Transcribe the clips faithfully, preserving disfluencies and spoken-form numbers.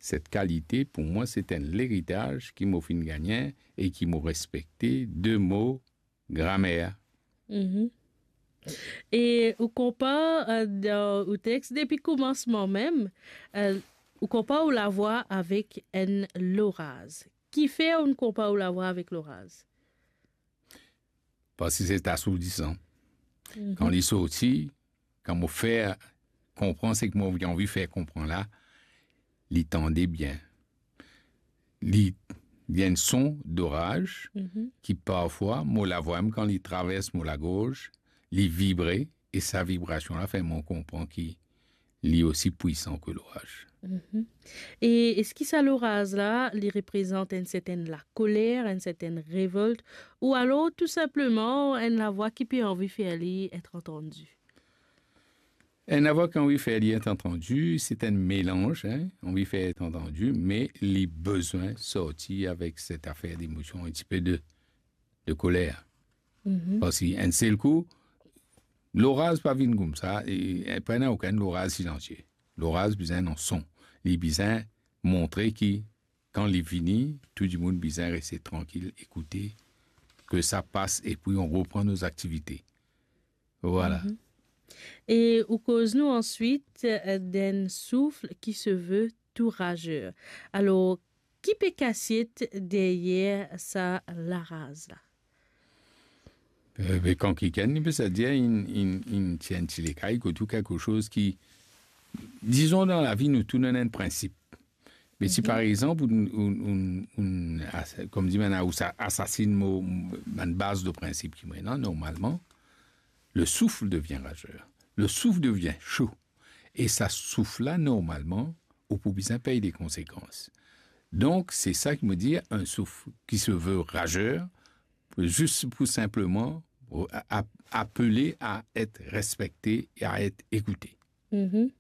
Set kalite, pou mwa, se enn leritaz ki mo finn gagne e ki mo respekte de mo gramer. Mhm. E ou konpar, eh, dan ou text depi koumansman mem, eh, ou konpar ou lavwa avek enn loraz. Kifer ou konpar ou lavwa avek loraz? Parski se asourdisan. Mhm. Kan li sorti, kan mo fer konpran seki mo anvi fer konpran la, li tande bien. Li, li enn son doraz, mhm, ki parfwa mo lavwa mem kan li travers mo lagorz, li vibre, e sa vibrasion la fer mwa konpran ki li osi pwisan ki loraz. Mhm. E eski sa loraz la, li reprezant enn sertenn lakoler, enn sertenn revolt, ou alor tou sinpleman enn lavwa ki pe anvi fer li et antandi? Enn lavwa ki anvi fer li et antandi, se enn melanz, hein, anvi fer et antandi, me li bizin sorti avek set zafer demosion, enn tipe de, de koler. Mhm. Parski enn sel kou, loraz pa vinn koumsa, e, e pena okenn loraz silansie. Loraz bizin enn son. Li bizin montre ki kan li vini, tou dimoun bizin reste trankil, ekoute, ke sa pas, epi on repran nou zaktivite. Vwala. Mhm. E ou koz nou answit, eh, d'enn souf ki se ve tou razer. Alor, ki pe kasiet deryer sa loraz la? Eh, be, kan kikenn, li pe sa dir, inn, inn, inn tir enn ti lekay, kot ou kiksoz ki, dizon, dan lavi, nou tou nou ena enn prinsip. Me si, mhm, par exanp, ou, ou, ou, ou as-, kouma dir, bann, ou sa asasinn mo, bann baz de prinsip ki mo ena, normalman, le souffle devient rageur. Le souffle devient chaud. E sa souf la, normalman, ou pou bizin pey de konsekans. Donk, se sa ki mo dir, enn souf ki se ve razer, zis pou sinpleman, a-, a-, apele a et respekte e a et ekoute. Mhm.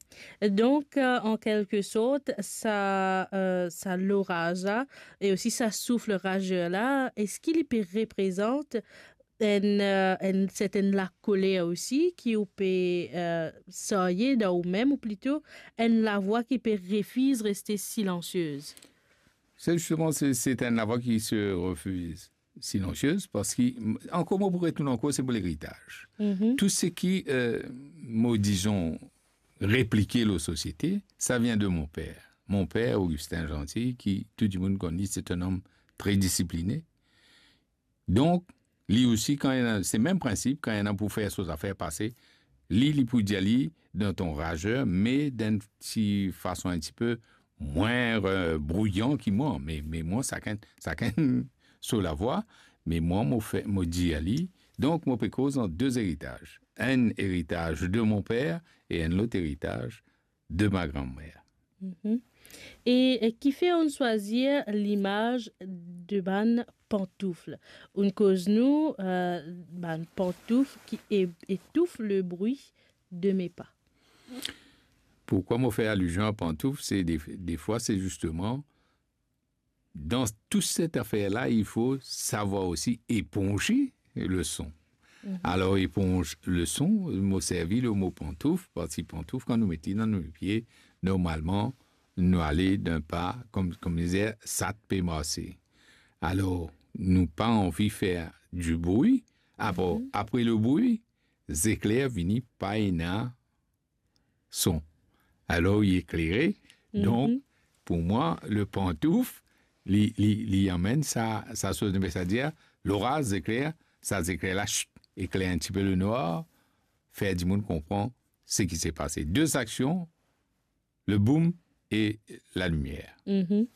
Donk, eh, an kelke sort, sa, eh, sa loraz la e osi sa souf razer la, eski li pe reprezant enn, eh, enn sertenn lakoler osi ki ou pe, eh, sarye dan ou mem, ou plito enn lavwa ki pe refiz reste silansiez? Se zisteman, se, se enn lavwa ki se refiz silansiez, parski, m-, ankor mo pou retourn ankor, se pou leritaz. Mhm. Tou seki, eh, mo, dizon, replike lor sosiete, sa vinn de mo per. Mo per, Augustin Jeanty, ki tou dimoun konn li, se enn om tre disipline. Donk, li osi, kan ena, se mem prinsip, kan ena pou fer so zafer pase, li, li pou dir li dan ton razer, me dan enn ti fason enn tipe mwin, eh, brouyan ki mwa, me, me mwa, sakenn, sakenn so lavwa, me mwa, mo fer, mo dir li. Donk, mo pe koz an de eritaz. Enn eritaz de mo per e enn lot eritaz de ma granmer. Mhm. E, eh, kifer ou'nn swazir limaz de bann pantouf? Ou'nn koz nou, eh, bann pantouf ki é-, etouf le bri de mes pas. Pourkwa mo fer alizion a pantouf? Se de, defwa, se zisteman, dan tou set zafer la, il faut savoir aussi éponger le son. Mhm. Alor, éponge le son, mo servi le mo pantouf, parski pantouf, kan nou met li dan nou pie, normalman, nou ale dan pa, kom, kom dir, sat pe marse. Alor, nou pa anvi fer dibri, apre, mhm, apre le bri, zekler vini, pa ena son. Alor, li eklere. Donk, mhm, pou mwa, le pantouf, li, li, li amenn sa, sa soz, me sa dir, loraz, zekler, sa zekler la, chut, ekler enn tipe lenwar, fer dimoun konpran seki se pase. De aksion, le boum e lalimier. Mhm.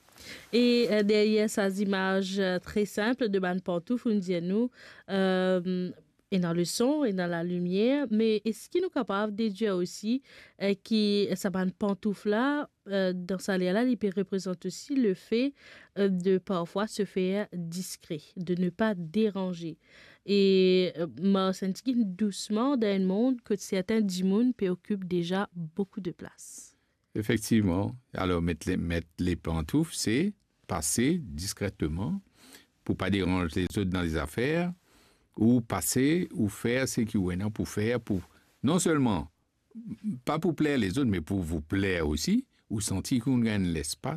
E, eh, deryer sa zimaz, eh, tre sinp de bann pantouf, ou'nn dir nou, eh, ena le son, ena lalimier, me eski nou kapav dedwir osi, eh, ki sa bann pantouf la, eh, dan sa ler la, li pe reprezant osi le fe, eh, de parfwa se fer diskre, de ne pas déranger. E, eh, mars enn tigit dousman dan enn mond kot sertin dimoun pe okip deza boukou de plas. Efektivman. Alor, met le, met le pantouf, se pase diskreteman pou pa deranz lezot dan lezafer, ou pase, ou fer seki ou ena pou fer, pou, non selman, pa pou pler lezot, me pou vous plaire aussi, ou santi ki ou gagn lespas,